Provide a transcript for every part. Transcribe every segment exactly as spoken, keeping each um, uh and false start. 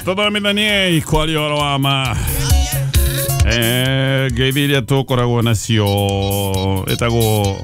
Tuthomithanie kwaria ũhoro wa ma. Eh, ngeithi iria tũkoragwo nacio ĩtagwo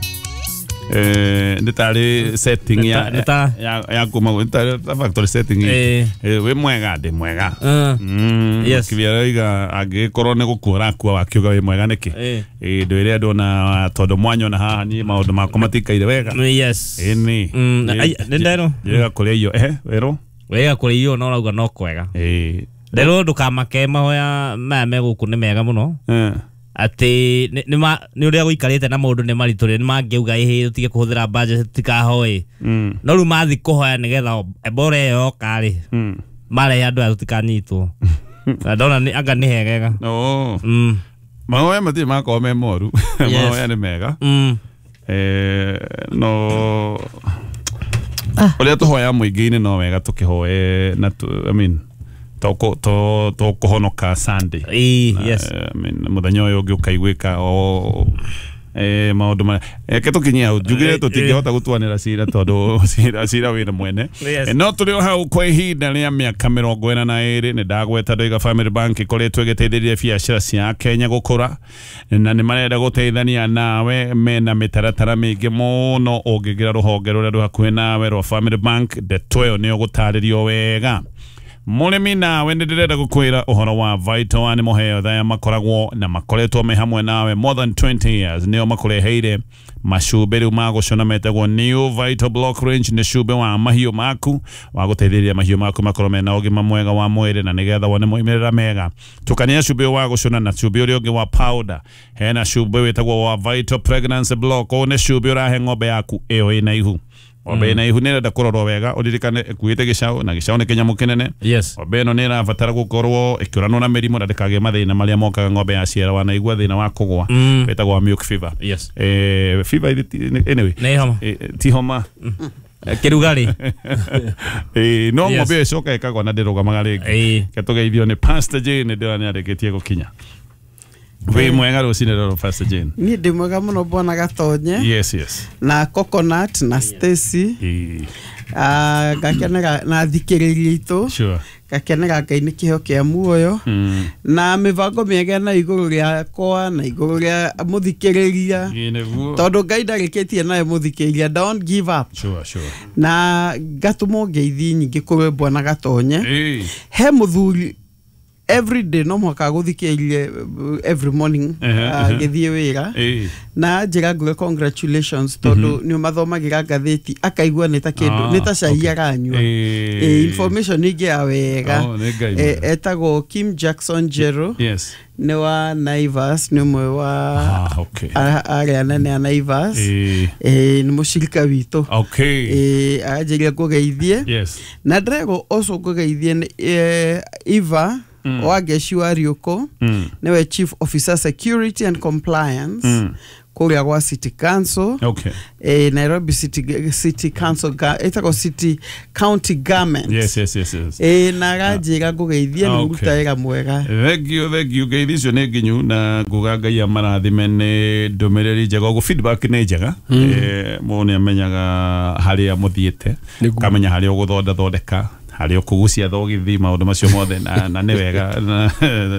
eh nĩ tarĩ setting ya Nĩ ta- ya ya kuma nĩ tarĩ ta factory setting. Eh. Eh, wĩ mwega, ndĩ mwega. Uh, Mm, Yes. Kĩbia angĩkorwo nĩ gũkua ũrakua wakiuga wĩ mwega nĩkĩ? Eh. Ĩ ndwĩre andũ ona tondũ mwanyona haha niĩ maũndũ makwa matikaire wega. Yes. Ĩni. Mm, ai, nĩ nderwo. Njĩrĩga kũrĩa irio. Ehe, werwo? Wega kũrĩa irio no ũrauga no kwega. Ĩ. Nderwo ndũkamake, mahoya maya me gũkũ nĩ mega mũno. Eh. Atĩ nĩ nĩ ma- nĩ ũrĩa gũikarĩte na maũndũ nĩ maritũ rĩ, nĩ mangĩuga ĩhĩ tũtige kũhũthĩra budget tũtikahoe. Mm. No rĩu mathi kũhoya nĩgetha Ebola ĩyo yoka rĩ, Mm. marehe andũ aya tũtikanyitwo. Na ndona nĩ anga nĩ hegega. Oh. Mm. Mahoya matirĩ makorwo me moru. Yes. Mahoya nĩ mega. Mm. Eh, no ũrĩa tũhoya mũingĩ-inĩ no wega tũkĩhoe na tu, I mean, to to to kũhonoka Sunday. Ĩĩ, yes. Eh, I mean, mũthenya ũyũ ũngĩ ũkaiguĩka o eh, maũndũ marĩa reke tũkinyie hau njugire Eh, tũtingĩhota gũtuanĩra cira tondũ cira cira wĩna mwene. Yes. Eh, no tũrĩ o hau kwa ihinda rĩa mĩaka mĩrongo ĩna na ĩrĩ. Nĩ ndagweta ndoiga Family Bank ĩkoretwo ĩgĩteithĩrĩria biacara cia Kenya gũkũra na nĩ marenda gũteithania nawe. Mena mĩtaratara mĩingĩ mũno. Ũngĩingĩra rũhonge rũrĩa rwĩ hakuhĩ nawe rwa Family Bank, ndeto ĩyo nĩ ũgũtarĩrio wega. Mũrĩmi nawe nĩ ndĩrenda gũkwĩra ũhoro wa Vital Animal Health. Aya makoragwo na makoretwo me hamwe nawe more than twenty years. Nĩo makũreheire macumbĩ rĩu ma gũcũna metagwo New Vital Block Range. Nĩ cumbĩ wa mahiũ maku wa gũteithĩrĩria mahiũ maku makorwo mena ũgima mwega wa mwĩrĩ na nĩgetha wone moimĩrĩra mega. Tukania cumbĩ ũyũ wa gũcũna na cumbĩ ũrĩa ũngĩ wa powder. Hena cumbĩ wĩtagwo wa Vital Pregnancy Block. Ũyũ nĩ cumbĩ ũrahe ng'ombe yaku ĩyo ĩna ihu. Ng'ombe ĩna ihu nĩ ĩrenda kũrorwo wega. Ũririkane ĩkuĩte gĩcaũ na gĩcaũ nĩ kĩnyamũ kĩnene. Yes. Ng'ombe ĩno nĩ ĩrabatara gũkorwo ĩkĩũranwo na mĩrimũ na ndĩkagĩe mathĩna marĩa mokaga ng'ombe yaciara. Wanaigua thĩna wa kũgwa Mm. wĩtagwo wa milk fever. Yes. eh, fever ithi- anyway. Nĩ homa. eh, ti homa. Kĩrugarĩ. eh, no Yes. ng'ombe ĩyo ĩcoka ĩkagwa na ndĩrũgamaga rĩngĩ. Ĩĩ. Ketũgeithio nĩ Pastor Jane. Ndĩrona nĩ arĩkĩtie gũkinya. Wĩ mwega rũcinĩ rũrũ, Pastor Jane? Niĩ ndĩ mwega mũno, bwana Gatonye. yes yes Na Coconut na Stacy. Eh, Ah, ngakenera na thikĩrĩria itũ. Sure Ngakenera Ngai nĩ kĩheo kĩa muoyo mm. na mĩbango mĩega na igũrũ rĩakwa na igũrũ rĩa mũthikĩrĩria. Ĩ, nĩguo. Tondũ Ngai ndarĩkĩtie nawe mũthikĩrĩria, don't give up. Sure sure Na ngatũmwo ngeithi nyingĩ kũrĩ bwana Gatonye. Eh, He mũthuri every day no mũhaka gũthikĩrĩrie uh, every morning Ehe, ehe. agĩthiĩ wĩra eh. na njĩra nguge congratulations tondũ nĩ ũmathomagĩra ngathĩti akaigua nĩ ta kĩndũ Ah, nĩ ta cai okay. aranyua. Eh. Eh, information ingĩ ya wega. Oh, nĩ Ngai Eh, mwega. Etagwo Kim Jackson Jero. Yes nĩ wa Naivas, nĩ ũmwe wa Ah, okay. a- arĩa anene a Naivas. Eh, Eh, nĩ mũcirika witũ. okay Eh, aranjĩria ngũgeithie. Yes Na ndĩrerwo ũcio ngũgeithie nĩ eh, Eva Mm. wa Ngeci wa Riũkũ, mm. nĩwe Chief Officer Security and Compliance Mm. kũrĩa gwa City Council. okay eh, Nairobi City, City Council ga- ĩtagwo City County Government. yes yes yes yes eh, na aranjĩra ngũgeithie nĩ Okay. ũruta wĩra mwega. Thank you, thank you. Ngeithi icio nĩ nginyu na nguga Ngai amarathime nĩ ndũmĩrĩri njega. Ũguo feedback nĩ njega. Eh, mũndũ nĩ amenyaga harĩa mũthiĩte, Nĩguo. kamenya harĩa ũgũthondathondeka, harĩa ũkũgucia thogithi, maũndũ macio mothe na, na nĩ wega na,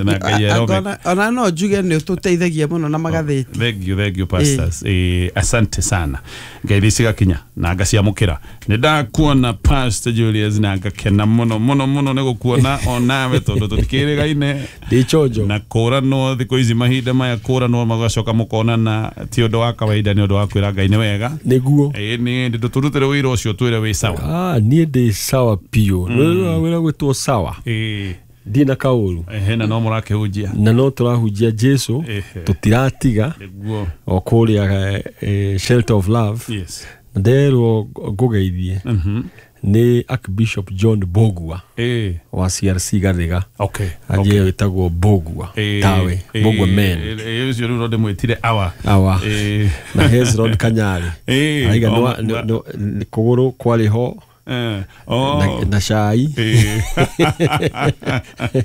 na Ngai erome. Ona- ona no njuge nĩ ũtũteithagia mũno na magathĩti. Thank you, thank you, pastors. Eh, asante sana. Ngeithi cigakinya na ngaciamũkĩra. Nĩ ndakuona, Pastor Julius, na ngakena mũno mũno mũno nĩ gũkuona onawe tondũ tũtikĩrĩgaine. Ndĩ chonjo. Na kũranwo thikũ ici, mahinda maya kũranwo magacoka mũkonana ti ũndũ wa kawaida. Nĩ ũndũ wa kwĩra Ngai nĩ wega. Nĩguo. Ĩ nĩ ndũ tũrutĩre wĩra ũcio twĩre wĩ sawa. Ah, niĩ ndĩ sawa biũ. Wĩra wĩra gwĩtwo sawa. Ĩ. Ndirĩ na kaũru. Ehe, na no mũrakĩhunjia. Na no tũrahunjia Jesu. Ehe. Tũtiratiga. Nĩguo. O kũrĩa eh, Shelter of Love. Yes nderwo ngũgeithie Mhm. nĩ Archbishop John Bogua Ĩ. wa C R C Gathiga. Okay Anjie wĩtagwo Bogua Ĩ, tawe ĩ, Bogua men. ĩ, ũcio rĩu no ndĩmwĩtire awa. Awa. Ĩ. Na Hezron Kanyari. Ĩ, Aiga o- nĩ kũgũrũ kwarĩ ho. Eh, oh. na, na cai. Eh.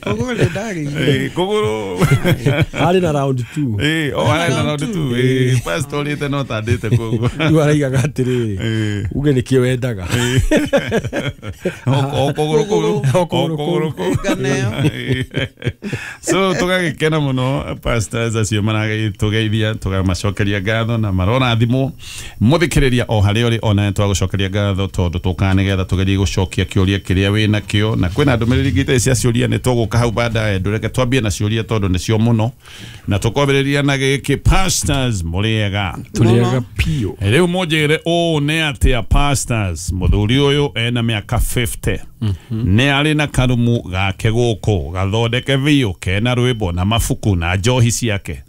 Koguo nĩ ndarĩire. Eh, kũgũrũ. Harĩ na round two. Eh, oh, arĩ na round two. Eh, pastor ũrĩte no tandĩte koguo. Rĩu araigaga atĩrĩrĩ, Eh. uge nĩkĩo wendaga. O o kũgũrũ kũu. O kũgũrũ O kũgũrũ kũu. Nganeo. So tũgagĩkena mũno pastors acio maragĩtũgeithia, tũgamacokeria ngatho na marorathimwo. Mũthikĩrĩria o harĩa ũrĩ ona twagũcokeria ngatho tondũ tũkaga nĩgetha tũgerie gũcokia kĩũria kĩrĩa wĩnakĩo, na kwĩna ndũmĩrĩri ingĩ itarĩ cia ciũria nĩ tũgũka hau baadaye. Ndũreke twambie na ciũria tondũ nĩcio mũno, na tũkwambĩrĩria na gĩkĩ. Pastors, mũrĩega? Tũrĩaga piũ. Rĩu mũnjĩre ũũ nĩ atĩa pastors, mũthuri ũyũ ena mĩaka fifty, nĩ arĩ na karumu gake gũkũ gathondeke biũ kena rwĩmbo na mabuku na njohi ciake,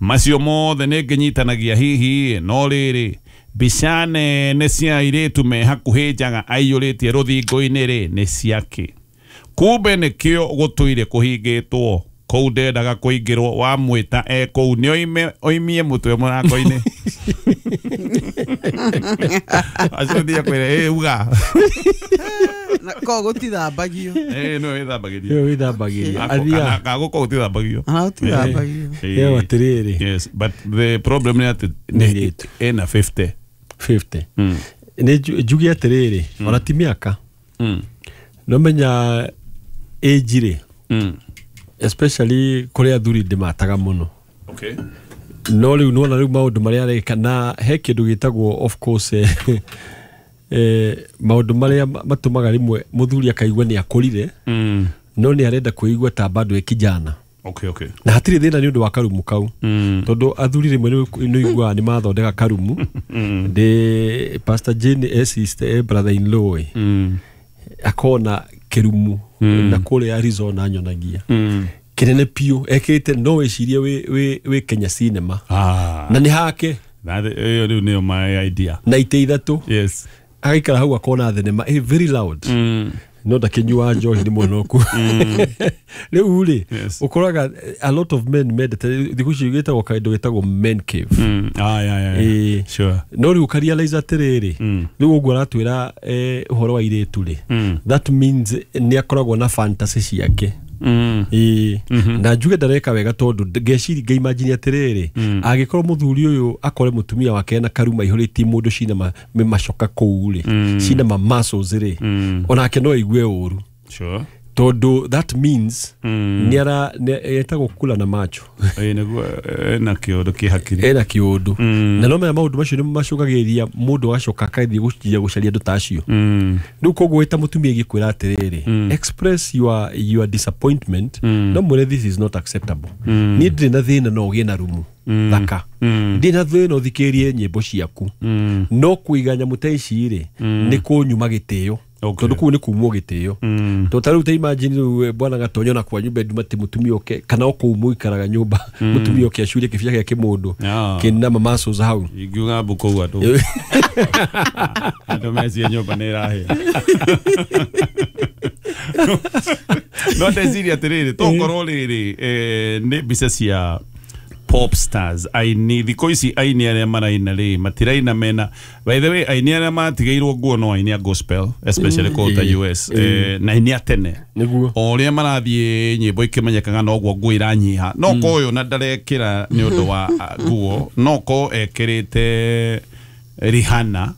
macio mothe nĩ ngĩnyitanagia hihi, no rĩrĩ mbica nene cia airĩtu me hakuhĩ njaga aiyũrĩtie rũthingo-inĩ rĩ nĩ ciake. Kumbe nĩkĩo gũtũire kũhingĩtwo kũu, ndendaga kũingĩrwo, wamwĩta e kũu nĩ oime oimie mũtwe mũrango-inĩ acio thiĩ akwĩre ĩ uga. Na ko gũtithambagio. Ĩ no ĩthambagĩrio. Ĩyo wĩthambagĩria. Athiaga. Gagũkũ gũtithambagio. Ana gũtithambagio. Ĩyo atĩrĩrĩ. Yes, but the problem nĩ atĩ Nĩ airĩtu. ena fifty. fifty. Mm. Nĩ nju- njuge atĩrĩrĩ, ona ti mĩaka. Mm. No menya age rĩ, Mm. especially kũrĩ athuri ndĩmataga mũno. Okay. No rĩu nĩwona rĩu maũndũ marĩa areka, na he kĩndũ gĩtagwo of course eh, eh, maũndũ marĩa matũmaga rĩmwe mũthuri akaigua nĩ akũrire, Mm. no nĩ arenda kwĩigua ta bado e kijana. Okay, okay. Na hatirĩ thĩna nĩ ũndũ wa karumu kau, Mm. tondũ athuri rĩmwe nĩ ũiguaga nĩ mathondeka karumu. Ndĩ Pastor Jane e sister e brother in law ĩ, Mm. akona kĩrumu na kũrĩa Arizona nyonagia Mm. kĩnene piũ ekĩrĩte, no wĩcirie wĩ, wĩ, wĩ Kenya cinema. Ah. Na nĩ hake. That ĩyo rĩu nĩyo my idea. Na itĩ ithatũ. Yes. Agaikara hau akona thenema ĩ very loud, Mm. no ndakĩnyua njohi nĩ mũnoku. Rĩu rĩ, Yes. ũkoraga a lot of men mendete thikũ ici gĩtagwo kaĩndũ gĩtagwo men cave. Mm. Ah, yeah, yeah, yeah. Ĩĩ. Sure. No rĩu ũkarealize atĩrĩrĩ, Mm. rĩu ũguo aratwĩra eh, ũhoro wa airĩtu rĩ, Mm. that means nĩ akoragwo na fantasy ciake. Mm. Ĩĩ. Na njuge ndareka wega, tondũ ngeciri ngaimagine atĩrĩrĩ, angĩkorwo mũthuri ũyũ akore mũtumia wake na karuma ihũrĩtie mũndũ cina ma- macoka kũu rĩ, cina ma muscles rĩ, onake no aigue ũru, Sure. tondũ that means Mm. nĩ ara nĩ- etagwo kula na macho. Ĩĩ nĩguo ena kĩũndũ kĩ hakiri. Ena kĩũndũ, na no menya maũndũ macio nĩ macũngagĩrĩria mũndũ agacoka akathiĩ gũciria gũcaria andũ ta acio. Mm. Rĩu koguo wĩta mũtumia ingĩkwĩra atĩrĩrĩ, express your, your disappointment, no mwĩre this is not acceptable. Niĩ ndirĩ na thĩna no ũgĩe na rumu thaka, ndirĩ na thĩna ũthikĩrĩrie nyĩmbo ciaku, Mm. no kũiga nyamũ ta ici rĩ nĩ kũnyuma gĩtĩo, Okay. tondũ kũu nĩ kumwo gĩtĩo. Mm. Tondũ ta rĩu ta imagine rĩu eh, bwana Gatonyo na kwa nyũmba ndumati mũtumia oke, kana o kũu mũikaraga nyũmba, mũtumia oke acurie kĩbia gĩa kĩmũndũ Ah. kĩna ma muscles hau. Ingiuga mbu kũu andũ andũ mecie nyũmba nĩ ĩrahĩa. No ndeciria atĩrĩrĩ, tokorwo rĩrĩ eh, nĩ mbica cia pop stars, aini thikũ ici, aini arĩa maraina rĩ matiraina mena, by the way, aini arĩa matigĩirwo nguo no aini a gospel, especially kũu ta Mm. U S, eh, na aini a tene. Nĩguo. O ũrĩa marathiĩ nyĩmbo ikĩmenyekaga noguo nguo iranyiha, no ko ũyũ na ndarekĩra nĩ ũndũ wa ah, nguo, no ko ekĩrĩte Rihanna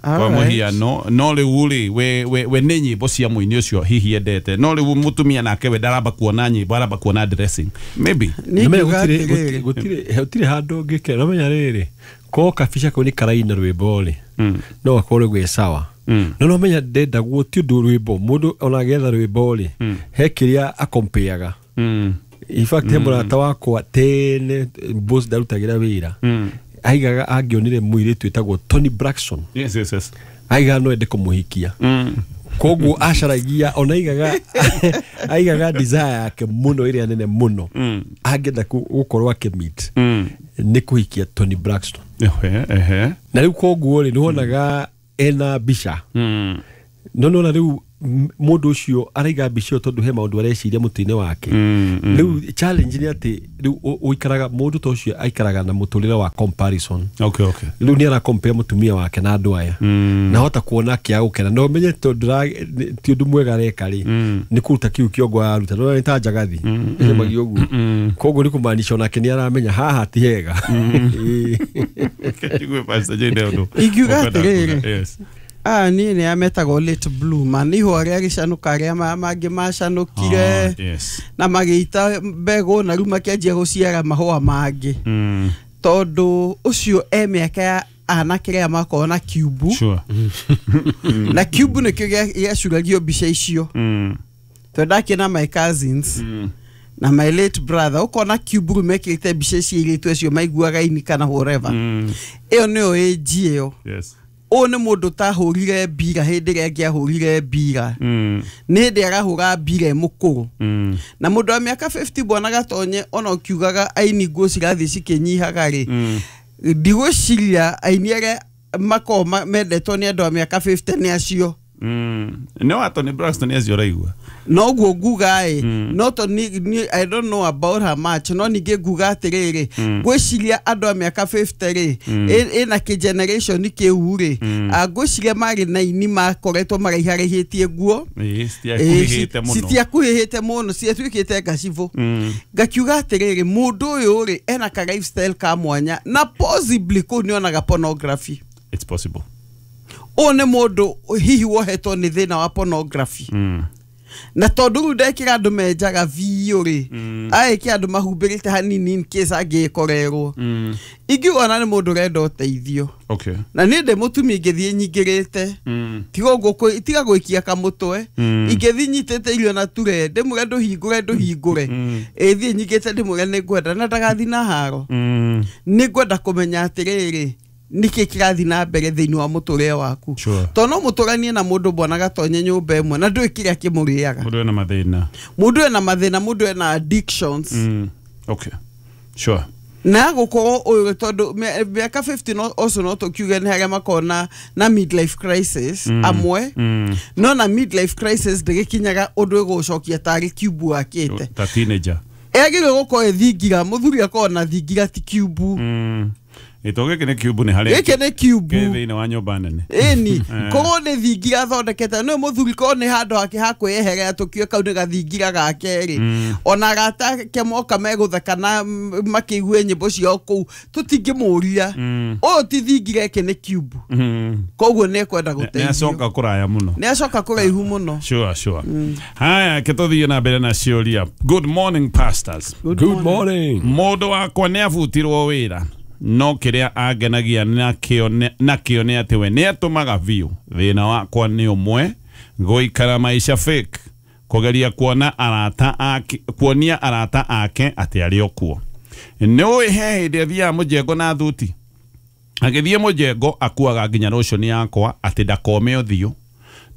kwa Alright. mũhiano, no rĩu rĩ we, we, we nĩ nyĩmbo cia mũini ũcio hihi endete, no rĩu mũtumia nake we ndaramba kuona nyĩmbo, aramba kuona dressing maybe. Niĩ Nĩmenya ngiuga gũtirĩ- atĩrĩrĩ, gũtirĩ gũtirĩ handũ ũngĩkĩra nomenya rĩrĩ ko kabica kau nĩ karaina rwĩmbo rĩ, no gakorwo gwĩ sawa, no nomenya ndendagwo ti ũndũ rwĩmbo mũndũ ona agĩetha rwĩmbo rĩ, he kĩrĩa akompeaga. Mm. In fact, he mũrata wakwa tene boss ndarutagĩra wĩra, aigaga angĩonire mũirĩtu wĩtagwo Tony Braxton, Yes, yes, yes. aigaga no ende kũmũhikia. Mm. Koguo acaragia ona aigaga aigaga desire yake mũno ĩrĩa nene mũno angĩenda kũ- gũkorwo akĩmeet Mm. nĩ kũhikia Tony Braxton. Ehe, ehe. Na rĩu koguo rĩ nĩwonaga ena mbica, Mm. no nona rĩu Mundu ucio araiga mbica ĩyo tondu he maundu areciria mutwe-inĩ wake. Rĩu challenge nĩ atĩ rĩu ũikaraga mundu ta ũcio aikaraga na mũtũrĩre wa comparison. Okay, okay. Rĩu nĩ ara compare mũtumia wake na andũ aya na hota kuona kĩa gũkena no menye tondu ti ũndũ mwega areka rĩ nĩ kũruta kĩu kĩongo araruta no nĩ ta njagathi ĩcemagia ũguo koguo nĩ kũmaanisha onake nĩ aramenya haha ti hega. Ingiuga atĩrĩrĩ, ah ni ni ametagwo late bloomer ni ihũa rĩa gĩcanũka arĩa mangĩ macanũkire na magĩita mbegũ na rĩu makĩanjia gũciara mahũa mangĩ tondũ ũcio e mĩaka ya anake arĩa makoragwo na kiubu. Sure. Na kiubu nĩkĩo gĩacuragio mbica icio tondũ ndakĩona my cousins na my late brother ukona kiubu rĩu mekĩrĩte mbica cia airĩtu acio maiguaga ini kana whatever. Ĩyo nĩyo age ĩyo. Yes. Ũyũ nĩ mũndũ ũtahũrire mbira hĩndĩ ĩrĩa ĩngĩ ahũrire mbira. Nĩ hĩndĩ arahũra mbira e mũkũrũ. Na mũndũ wa mĩaka fifty bwana Gatonye ona ũkiugaga aini nguo cirathiĩ cikĩnyihaga rĩ, ndigwĩciria aini arĩa makoragwo mendetwo nĩ andũ a mĩaka fifty nĩ acio. No Anthony Braxton acio ũraigua. Noguo nguga ĩ no to ni I don't know about her much no ningĩ nguga atĩrĩrĩ ngwĩciria andũ a mĩaka fifty rĩ ĩna kĩ generation kĩu rĩ ngwĩciria marĩ na ini makoretwo maraiharaihĩtie nguo citiakuhĩhĩte mũno ciatuĩkĩte ngacibũ. Ngakiuga atĩrĩrĩ mũndũ ũyũ rĩ ena ka lifestyle ka mwanya na possibly kũu nĩonaga pornography. It's possible. Ũyũ nĩ mũndũ hihi wohetwo nĩ thĩna wa pornography. Na tondũ rĩu ndekĩra andũ menjaga biũ rĩ aĩke andũ mahumbĩrĩte hanini in case angĩkorerwo. Ingiuga ona nĩ mũndũ ũrenda ũteithio. Okay. Na niĩ ndĩ mũtumia ingĩthiĩ nyingĩrĩte tiga ũguo tiga gwĩkia kamũtwe ingĩthiĩ nyitĩte irio na ture ndĩmwĩre ndũhingũre ndũhingũre ĩthiĩ nyingĩte ndĩmwĩre nĩngwenda na ndagathiĩ na haro nĩngwenda kũmenya atĩrĩrĩ nĩkĩ kĩrathiĩ na mbere thĩinĩ wa mũtũrĩre waku. Tondũ no mũtũranie na mũndũ bwana Gatonye nyũmba ĩmwe na ndũĩ kĩrĩa kĩmũrĩaga. Mũndũ ena mathĩna. Mũndũ ena mathĩna, mũndũ ena addictions. Okay. Sure. Na gũkorwo ũyũ tondũ mĩaka fifty no ũcio no tũkiuge nĩ harĩa makoragwo na midlife crisis amwe no na midlife crisis ndĩgĩkinyaga ũndũ ĩgũcokia tarĩ kiubu akĩte. Ta teenager. Ĩagĩrĩirwo gũkorwo ĩthingira mũthuri akorwo na thingira ti kiubu. Ito gĩkĩ nĩ kiubu nĩ harĩa gĩkĩ nĩ kiubu gĩ thĩinĩ wa nyũmba nene. Ĩni korwo nĩ thingira athondekete nĩ mũthuri korwo nĩ handũ hake ha kwĩyeherera tũkiuge kau nĩ gathingira gake rĩ ona arata ake moka megũtheka na makĩigue nyĩmbo ciao kũu tũtingĩmũria ũyũ ti thingira ĩkĩ nĩ kiubu koguo nĩ ekwenda gũteithio. Nĩ acoka kũraya mũno. Nĩ acoka kũraihu mũno. Sure, sure. Haya kĩtũthiĩ na mbere na ciũria. Good morning pastors. Good morning. Mũndũ wakwa nĩ abutirwo wĩra no kĩrĩa angenagia nakĩo nakĩo nĩ atĩ we nĩ atũmaga biũ thĩna wakwa nĩ ũmwe gũikara maica fake kũgeria kuona arata ake kuonia arata ake atĩ arĩ o kuo. Nĩ ũĩ he hĩndĩ athiaga mũjengo na thuti agĩthiĩ mũjengo akuaga nginya rũciũ yakwa atĩ ndakome ũthiũ.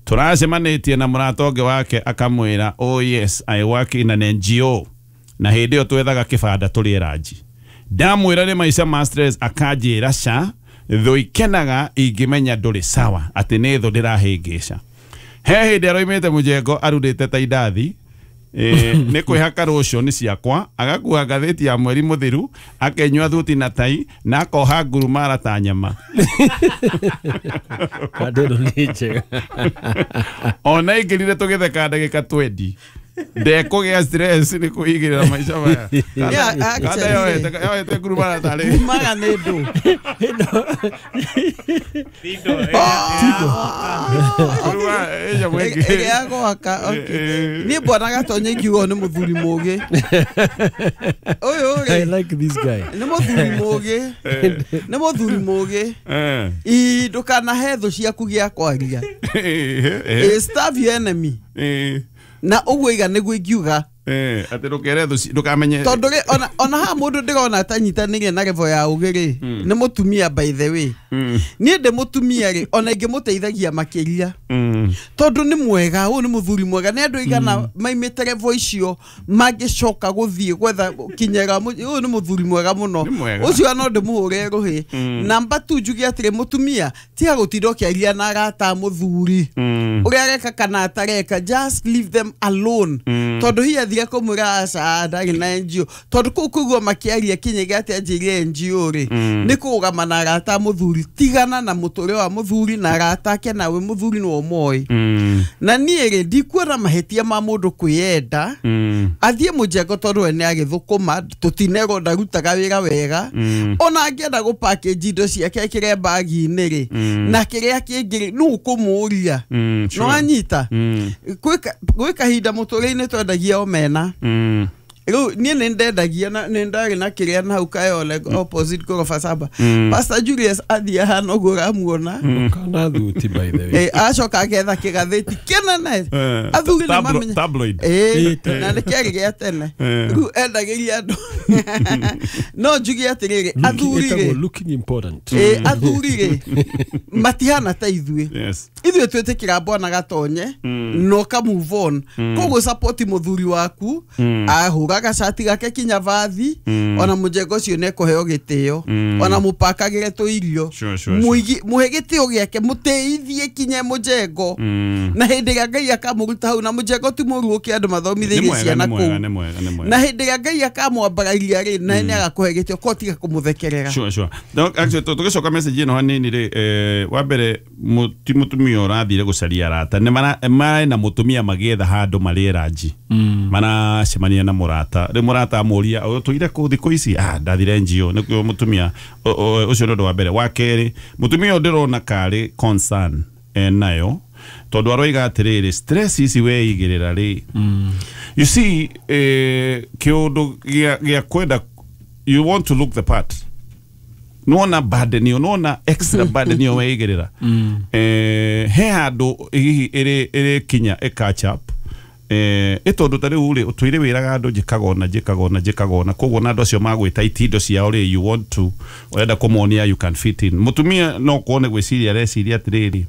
Tũracemanĩtie na mũrata ũngĩ wake akamwĩra oh yes I work in an N G O na hĩndĩ ĩyo twethaga kĩbanda tũrĩe ranji. Ndamwĩra nĩ maica ma stress akanjĩra ca thũ ikenaga ingĩmenya ndũrĩ sawa atĩ nĩ thũ ndĩrahĩngĩca. He hĩndĩ aroimĩte mũjengo arurĩte ta indathi nĩ kwĩhaka rũciũ nĩ ciakwa agakua ngathĩti ya mweri mũthiru akenyua thuti na tai na akoha ngurumara ta nyama. Kandĩ ĩno nĩ njega. Ona ingĩrire tũgĩtheka ndagĩka twenty ndekũgĩa stress nĩ kwĩigĩrĩra maica maya. Kanda yoete yoete ngurumara tarĩ ngurumara nĩ ndũ. Ĩrĩa ya gwaka. Niĩ bwana Gatonye ingiuga nĩ mũthuri mũgĩ. Ũyũ rĩ I like this guy. Nĩ mũthuri mũgĩ. Nĩ mũthuri mũgĩ. Ĩ ndũkanahe thũ ciaku gĩa kwaria. Starve your enemy. Na ũguo iga nĩguo ingiuga Eh, atĩ ndũkere thũ ndũkamenye Tondũ rĩ ona ona ha mũndũ ndĩrona atanyitanĩire na level ya ũgĩ rĩ nĩ mũtumia, by the way. Niĩ ndĩ mũtumia rĩ, ona ingĩmũteithagia makĩria Mm. tondũ nĩ mwega, ũyũ nĩ mũthuri mwega. Nĩ andũ aigana maimĩte level icio mangĩcoka gũthiĩ gwetha kinyera? Ũyũ nĩ mũthuri mwega mũno. Nĩ mwega. Ũcio no ndĩmũhũre rũhĩ. Namba tu njuge atĩrĩ, mũtumia, tiga gũtinda ũkĩaria na arata a mũthuri Mm. ũrĩa areka kana atareka. Just leave them alone, tondũ hihi athire kũmwĩra aca ndarĩ na N G O, tondũ kũu kũigua makĩaria kinyĩga atĩ anjĩire N G O rĩ nĩ kũrũgama na arata a mũthuri. Tigana na mũtũrĩre wa mũthuri na arata ake, nawe mũthuri nĩwe ũmoĩ. Mm. Na niĩ rĩ, ndikuona mahĩtia ma mũndũ kwĩyenda Mm. athiĩ mũjengo, tondũ we nĩ agĩthũkũma, tũtinerwo ndarutaga wĩra wega. Ona angĩenda gũ package indo ciake ekĩre bagi-inĩ rĩ, na kĩrĩa kĩngĩ rĩ, nũ ũkũmũria? Mm, sure. No anyita Mm. gwĩ kahinda mũtũrĩre-inĩ twendagia omena. Mm. Rĩu niĩ nĩ ndendagia na nĩ ndarĩ na kĩrĩa na hau Kayole opposite Gorofa Saba. Pastor Julius athiĩ ahana ũguo ũramuona. Kana thuti, by the way. Eh, acoka agetha kĩgathĩti kĩnene. Eh, Athuri nĩ tablo- mamenya tabloid. Ĩĩ, na nĩ kĩarĩ gĩa tene. Eh. Rĩu endagĩria andũ. No njuge atĩrĩrĩ, athuri Ĩtagwo rĩ, looking important. ĩ, athuri rĩ, matihana ta ithuĩ. Yes. Ithuĩ twĩtĩkĩra bwana gatonye na ũka move on. Koguo support mũthuri waku, ahũra gacati gake kinya vathi, ona mũjengo ũcio nĩ ekũheo gĩtĩo, ona mũpakagĩre tũirio. Sure, sure, Mũigi- mũhe gĩtĩo gĩake, mũtĩithie kinye mũjengo, Mm. na hĩndĩ ĩrĩa Ngai akamũruta hau, na mũjengo ti mũru ũkĩ andũ Nĩ mathomithĩirie mwega, ciana nĩ mwega, kũu, nĩ mwega, nĩ mwega. na hĩndĩ ĩrĩa Ngai akamwambararia rĩ, na nĩ agakũhe gĩtĩo ko tiga kũmũthekerera. Sure, sure. No, actually, tũ- tũgĩcoka message ĩno hanini rĩ, eh, wa mbere mu- ti mũtumia ũrathire gũcaria arata, nĩ mara- marĩ na mũtumia magĩetha handũ marĩe ranji, maracemania na mũrata. Rĩu mũrata amũria, "Ũtũire kũ thikũ ici?" "Ah, ndathire N G O." Nĩkĩo mũtumia ũ- ũ- ũcio nĩ ũndũ wa mbere. Wa kerĩ, mũtumia ũyũ ndĩrona karĩ concern enayo, tondũ aroiga atĩrĩrĩ, stress ici weigĩrĩra rĩ, you see, eh, kĩũndũ gĩa gĩa kwenda, you want to look the part, nona burden ĩyo, nona extra burden ĩyo weigĩrĩra, eh, he handũ hihi ĩrĩ ĩrĩkinya ĩ catch up, eh, ĩ tondũ ta rĩu rĩ, ũtũire wĩraga andũ njĩkaga ũna, njĩkaga ũna, njĩkaga ũna, koguo na andũ acio magwĩta itindo ciao rĩ, you want to, ũrenda kũmonia you can fit in. Mũtumia no kuone gwĩciria areciria atĩrĩrĩ,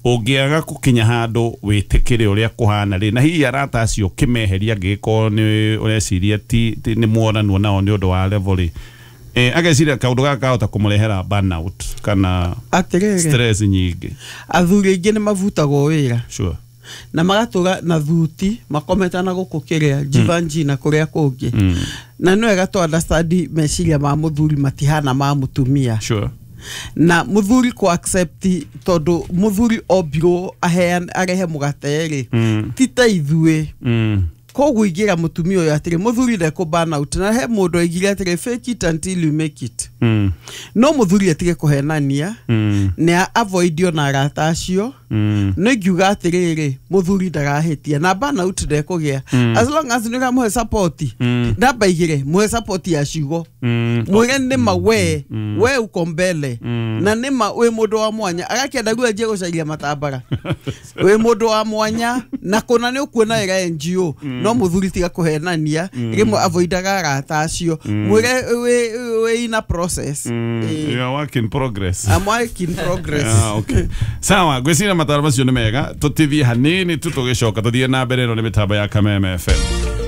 ũngĩaga gũkinya handũ wĩtĩkĩre ũrĩa kũhana rĩ, na hihi arata acio ũkĩmeheria angĩgĩkorwo nĩ ũreciria ti, ti nĩ muonanwo nao nĩ ũndũ wa level rĩ, eh, ageciria kaũndũ gaka kahota kũmũrehera burnout kana Atĩrĩrĩ, stress nyingĩ. Athuri aingĩ nĩ mabutagwo wĩra sure na magatũra na thuti makomete na gũkũ kĩrĩa Givenchy na kũrĩa kũngĩ. Na nĩ wega tũ understand meciria ma mũthuri matihana ma mũtumia. Sure Na mũthuri kũ accept, tondũ mũthuri ombirwo aheane arehe mũgate rĩ, ti ta ithuĩ. mm. Koguo ingĩra mũtumia ũyũ atĩrĩ, mũthuri ndekũ burn out, na he mũndũ oigire atĩrĩ, "Fake it until you make it." Mm. No mũthuri atige kũhenania, Mm. nĩ avoid ona arata acio. Mm. No ingiuga atĩrĩrĩ, mũthuri ndarahĩtia na burn out ndekũgĩa as long as nĩ ũramũhe support. Namba igĩrĩ, mũhe support ya ciugo. Mm. Mwĩre nĩma we we uko mbele, na nĩma wĩ mũndũ wa mwanya, agakĩenda guo anjie gũcaria matambara, wĩ mũndũ wa mwanya na kũna nĩ ũkuona wĩra N G O. No mũthuri tiga kũhenania, rĩmwe avoidaga arata acio, mwĩre wĩ wĩ in a process. Mm. Ĩĩ. You are work in progress. I'm work in progress. Ah, okay. Sawa, ngwĩciria mataro macio nĩ mega. Tũtithie hanini tu, tũgĩcoka tũthiĩ na mbere. Ĩno nĩ mĩtambo ya Kameme F M.